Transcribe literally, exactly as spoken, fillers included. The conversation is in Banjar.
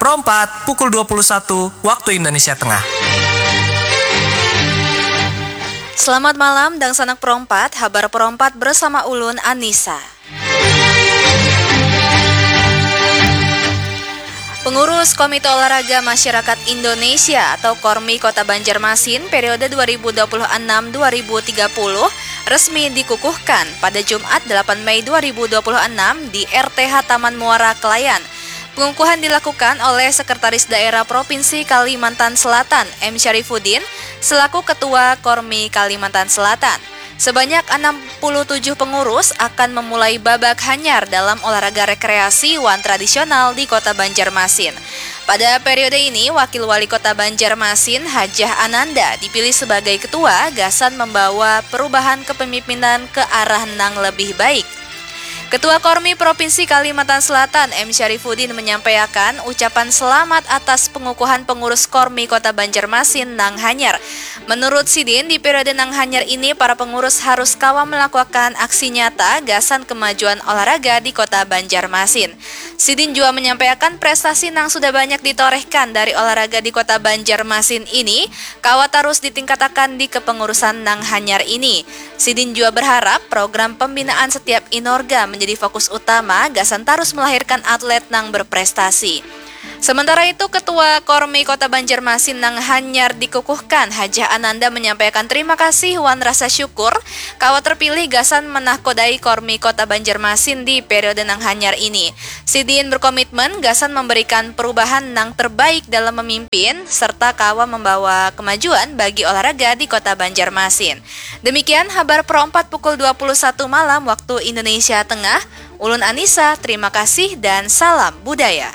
Pro empat, pukul dua puluh satu waktu Indonesia Tengah. Selamat malam, dangsanak Pro empat, habar Pro empat bersama ulun, Anisa. Pengurus Komite Olahraga Masyarakat Indonesia atau KORMI Kota Banjarmasin periode dua ribu dua puluh enam dua ribu tiga puluh resmi dikukuhkan pada Jumat delapan Mei dua ribu dua puluh enam di R T H Taman Muara Kelayan. Pengukuhan dilakukan oleh Sekretaris Daerah Provinsi Kalimantan Selatan, M Syarifuddin, selaku Ketua KORMI Kalimantan Selatan. Sebanyak enam puluh tujuh pengurus akan memulai babak hanyar dalam olahraga rekreasi wan tradisional di Kota Banjarmasin. Pada periode ini, Wakil Wali Kota Banjarmasin, Hajah Ananda, dipilih sebagai ketua gasan membawa perubahan kepemimpinan ke arah nang lebih baik. Ketua KORMI Provinsi Kalimantan Selatan, M Syarifuddin, menyampaikan ucapan selamat atas pengukuhan pengurus KORMI Kota Banjarmasin nang hanyar. Menurut sidin, di periode nang hanyar ini, para pengurus harus kawa melakukan aksi nyata gasan kemajuan olahraga di Kota Banjarmasin. Sidin jua menyampaikan prestasi nang sudah banyak ditorehkan dari olahraga di Kota Banjarmasin ini kawa tarus ditingkatakan di kepengurusan nang hanyar ini. Sidin jua berharap program pembinaan setiap inorga menjadi fokus utama gasan tarus melahirkan atlet nang berprestasi. Sementara itu, Ketua KORMI Kota Banjarmasin nang hanyar dikukuhkan, Hajah Ananda, menyampaikan terima kasih wan rasa syukur kawa terpilih gasan menahkodai KORMI Kota Banjarmasin di periode nang hanyar ini. Sidin berkomitmen gasan memberikan perubahan nang terbaik dalam memimpin serta kawa membawa kemajuan bagi olahraga di Kota Banjarmasin. Demikian habar Pro empat pukul dua puluh satu malam waktu Indonesia Tengah. Ulun Anissa, terima kasih dan salam budaya.